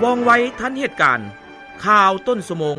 ວ່ອງໄວທັນເຫດການ. ຂ່າວຕົ້ນຊົ່ວໂມງ.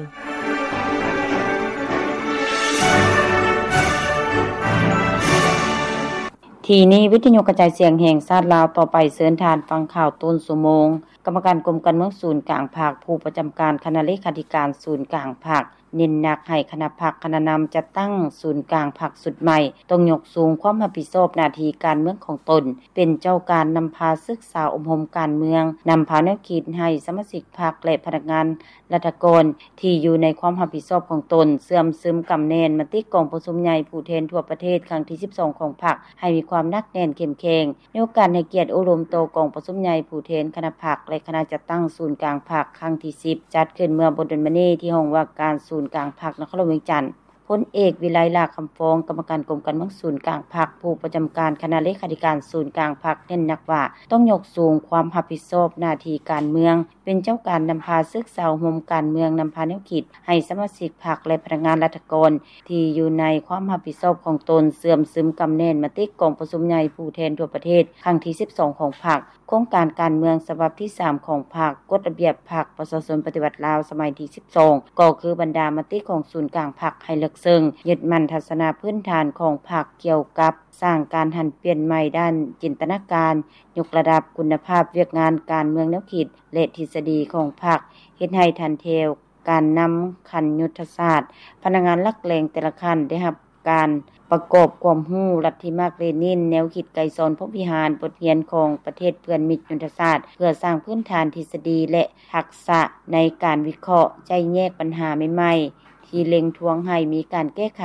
ທີ່ນີ້ ວິທະຍຸກະຈາຍສຽງແຫ່ງຊາດລາວ ຕໍ່ໄປເຊີນທ່ານຟັງຂ່າວຕົ້ນຊົ່ວໂມງ. ກຳມະການກົມການເມືອງສູນກາງພັກ ຜູ້ປະຈຳການຄະນະເລຂາທິການສູນກາງພັກ ເນັ້ນໜັກໃຫ້ຄະນະພັກຄະນະນຳຈັດຕັ້ງສູນກາງພັກຊຸດໃໝ່ ຕ້ອງຍົກສູງຄວາມຮັບຜິດຊອບໜ້າທີ່ການເມືອງຂອງຕົນ, ເປັນເຈົ້າການນຳພາສຶກສາອົບຮົມການເມືອງ, ນຳພາແນວຄິດໃຫ້ສະມາຊິກພັກ ແລະ ພະນັກງານລັດຖະກອນທີ່ຢູ່ໃນຄວາມຮັບຜິດຊອບຂອງຕົນ ເຊື່ອມຊຶມກຳແໜ້ນມະຕິກອງປະຊຸມໃຫຍ່ຜູ້ແທນທົ່ວປະເທດຄັ້ງທີສິບສອງຂອງພັກ ໃຫ້ມີຄວາມໜັກແໜ້ນເຂັ້ມແຂງ. ໃນໂອກາດໃຫ້ກຽດໂອ້ລົມຕໍ່ກອງປະຊຸມໃຫຍ່ຜູ້ແທນຄະນະພັກ ແລະ ຄະນະຈັດຕັ້ງສູນກາງພັກຄັ້ງທີສິບ ຈັດຂຶ້ນເມື່ອບໍ່ດົນມານີ້ ທີ່ຫ້ອງວ່າການສູນກາງພັກນະຄອນຫຼວງວຽງຈັນ, ພົນເອກ ວິໄລ ຫຼ້າຄຳຟອງ ກຳມະການກົມການເມືອງສູນກາງພັກ ຜູ້ປະຈຳການຄະນະເລຂາທິການສູນກາງພັກ ເນັ້ນໜັກວ່າ ຕ້ອງຍົກສູງຄວາມຮັບຜິດຊອບໜ້າທີ່ການເມືອງ, ເປັນເຈົ້າການນຳພາສຶກສາອົບຮົມການເມືອງ, ນຳພາແນວຄິດໃຫ້ສະມາຊິກພັກ ແລະ ພະນັກງານລັດຖະກອນທີ່ຢູ່ໃນຄວາມຮັບຜິດຊອບຂອງຕົນ ເຊື່ອມຊຶມກຳແໜ້ນມະຕິກອງປະຊຸມໃຫຍ່ຜູ້ແທນທົ່ວປະເທດຄັ້ງທີສິບສອງຂອງພັກ, ໂຄງການການເມືອງສະບັບທີສາມຂອງພັກ, ກົດລະບຽບພັກປະຊາຊົນປະຕິວັດລາວສະໄໝທີສິບສອງ ກໍຄືບັນດາມະຕິຂອງສູນກາງພັກໃຫ້ເລິກເຊິ່ງ, ຍຶດໝັ້ນທັດສະນະພື້ນຖານຂອງພັກກ່ຽວກັບ ສ້າງການຫັນປ່ຽນໃໝ່ດ້ານຈິນຕະນາການ, ຍົກລະດັບຄຸນນະພາບວຽກງານການເມືອງແນວຄິດ ແລະ ທິດສະດີຂອງພັກ, ເຮັດໃຫ້ຖັນແຖວການນຳຂັ້ນຍຸດທະສາດ, ພະນັກງານຫຼັກແຫຼ່ງແຕ່ລະຂັ້ນໄດ້ຮັບການປະກອບຄວາມຮູ້ລັດທິມາກເລນິນ, ແນວຄິດໄກສອນພົມວິຫານ, ບົດຮຽນຂອງປະເທດເພື່ອນມິດຍຸດທະສາດ, ເພື່ອສ້າງພື້ນຖານທິດສະດີ ແລະ ທັກສະໃນການວິເຄາະ, ໄຈ້ແຍກບັນຫາໃໝ່ໆ ທີ່ເລັ່ງທວງໃຫ້ມີການແກ້ໄຂ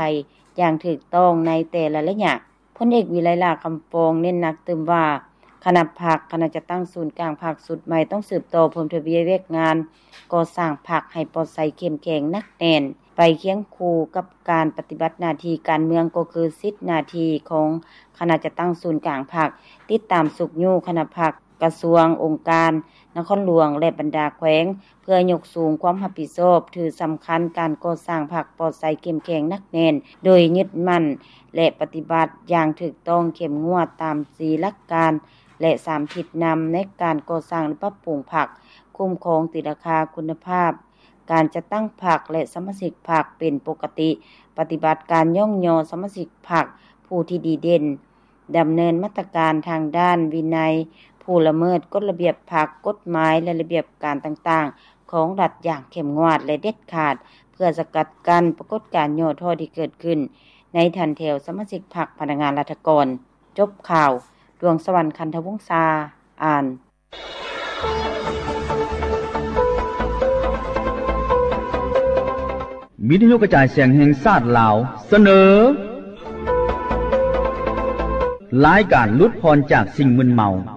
ຢ່າງຖືກຕ້ອງໃນແຕ່ລະໄລຍະ. ພົນເອກ ວິໄລ ຫຼ້າຄຳຟອງ ເນັ້ນໜັກຕື່ມວ່າ ຄະນະພັກ, ຄະນະຈັດຕັ້ງສູນກາງພັກຊຸດໃໝ່ ຕ້ອງສືບຕໍ່ເພີ່ມທະວີວຽກງານກໍ່ສ້າງພັກໃຫ້ປອດໃສ, ເຂັ້ມແຂງ, ໜັກແໜ້ນ, ໄປຄຽງຄູ່ກັບການປະຕິບັດໜ້າທີ່ການເມືອງ ກໍຄືສິດໜ້າທີ່ຂອງຄະນະຈັດຕັ້ງສູນກາງພັກ, ຕິດຕາມຊຸກຍູ້ຄະນະພັກ, ກະຊວງ, ອົງການ, ນະຄອນຫຼວງ ແລະ ບັນດາແຂວງ ເພື່ອຍົກສູງຄວາມຮັບຜິດຊອບ, ຖືສຳຄັນການກໍ່ສ້າງພັກປອດໃສ, ເຂັ້ມແຂງ, ໜັກແໜ້ນ, ໂດຍຍຶດໝັ້ນ ແລະ ປະຕິບັດຢ່າງຖືກຕ້ອງ, ເຂັ້ມງວດຕາມສີ່ຫຼັກການ ແລະ ສາມທິດນຳໃນການກໍ່ສ້າງ ແລະ ປັບປຸງພັກ, ຄຸ້ມຄອງຕີລາຄາຄຸນນະພາບການຈັດຕັ້ງພັກ ແລະ ສະມາຊິກພັກເປັນປົກກະຕິ, ປະຕິບັດການຍ້ອງຍໍສະມາຊິກພັກຜູ້ທີ່ດີເດັ່ນ, ດຳເນີນມາດຕະການທາງດ້ານວິໄນຜູ້ລະເມີດກົດລະບຽບພັກ, ກົດໝາຍ ແລະ ລະບຽບການຕ່າງໆຂອງລັດຢ່າງເຂັ້ມງວດ ແລະ ເດັດຂາດ ເພື່ອສະກັດກັ້ນປາກົດການຫຍໍ້ທໍ້ທີ່ເກີດຂຶ້ນໃນຖັນແຖວສະມາຊິກພັກ, ພະນັກງານລັດຖະກອນ. ຈົບຂ່າວ. ດວງສະຫວັນ ຄັນທະວົງສາ ອ່ານ. ວິທະຍຸກະຈາຍສຽງແຫ່ງຊາດລາວ ສະເໜີ ລາຍການຫຼຸດຜ່ອນຈາກສິ່ງມຶນເມົາ.